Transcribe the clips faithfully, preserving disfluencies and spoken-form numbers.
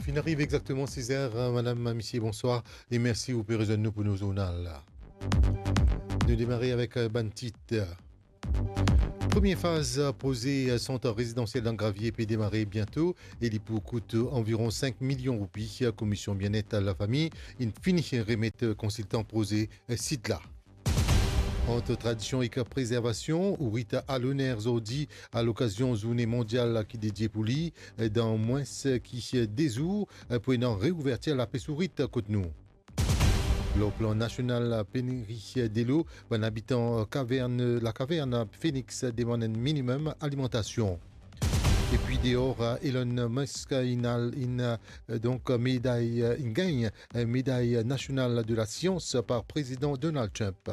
Finn ariv exakteman siz er, madam, misie, bonswar, e mersi ou pe rezwenn nou pou nou zournal la. Nou demare avek, eh, bann tit. Premie faz proze sant rezidansiel dan Gravie pe demare biento e li pou kout anviron sink milion roupi. Komisyon Bienet Lafami inn fini remet konsiltan proze sit la. Ant tradision ek prezervasion, ourit aloner zordi a lokazion zourne mondial ki dedie pou li, dan mwins ki de zour pou ena reouvertir lapes ourit kot nou. Lor plan nasional, peniri delo, bann abitan kavern, Lakavern Phoenix demann enn minimem alimantasion. Epi deor, Elon Musk inn al, inn, donk, meday, inn gagn meday nasional de lasians par Prezidan Donald Trump.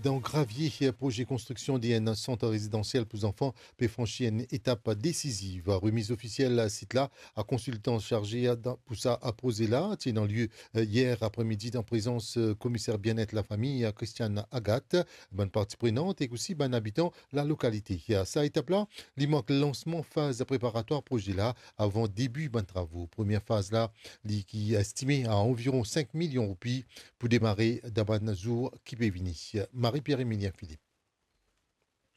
Dan Gravie, proze konstriksion de enn sant rezidansiel pou zanfan pe fransi enn etap desiziv. Remiz ofisiel sit la a konsiltan sarze dan, pou sa proze la ti ena lie, eh, yer apremidi dan prezans, eh, Komiser Bienet Lafami, eh, Christiane Agathe, bann parti prenant ek osi bann abitan lalokalite. Sa etap la, li mark lansman faz preparatwar proze la avan debi bann travo. Premie faz la, li ki estime a anviron sink milion roupi pou demare dan bann zour ki pe vini. Marie-Pierre Emilien Philippe.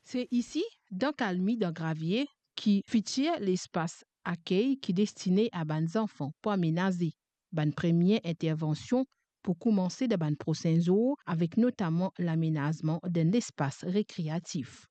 Se isi, dan Kalmi, dan Gravie, ki fitir lespas akey ki destine a bann zanfan pou amenaze. Bann premie intervansion pou koumanse dan bann prosin zour, avek notaman lamenazman d'enn lespas rekreatif.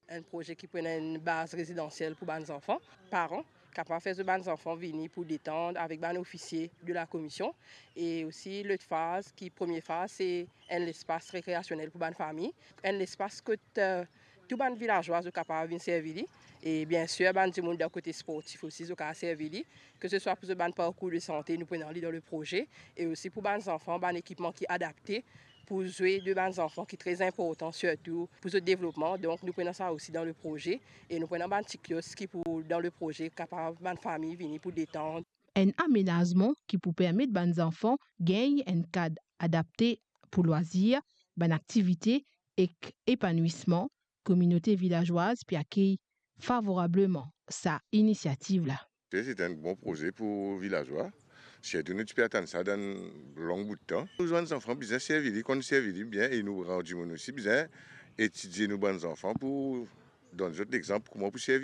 Enn proze ki pou ena enn baz rezidansiel pou bann zanfan, paran kapav fer zot bann zanfan vini pou detann avek bann ofisie de lakomision. E osi, lot faz, ki premie faz, se enn lespas rekreasionel pou bann fami, enn lespas kot, eh, tou bann vilazwa zot kapav vinn servi li. E biensir, bann dimoun dan kote sportif osi, zot kapav servi li, ke se swa pou zot bann parkour de sante, nou pou ena li dan le proze, e osi pou bann zanfan, bann ekipman ki adapte pou zwe de bann zanfan, ki tre inportan, sirtou pou zot devlopman. Donk, nou pou ena sa osi dan le proze, e nou pou ena bann ti kiosk ki pou, dan le proze, kapav bann fami vini pou detann. Enn amenazman ki pou permet bann zanfan gagn enn kad adapte pou lwazir, bann aktivite ek epanwisman. Kominote vilazwaz pe akey favorableman sa inisiativ la. Se, se enn bon proze pou vilazwa. Sirtou nou ti pe atann sa dan long bout tan. Nou bann zanfan bizin servi li, konn servi li bien, e nou gran dimoun osi bizin etidie nou bann zanfan pou donn zot lexanp kouma pou servi.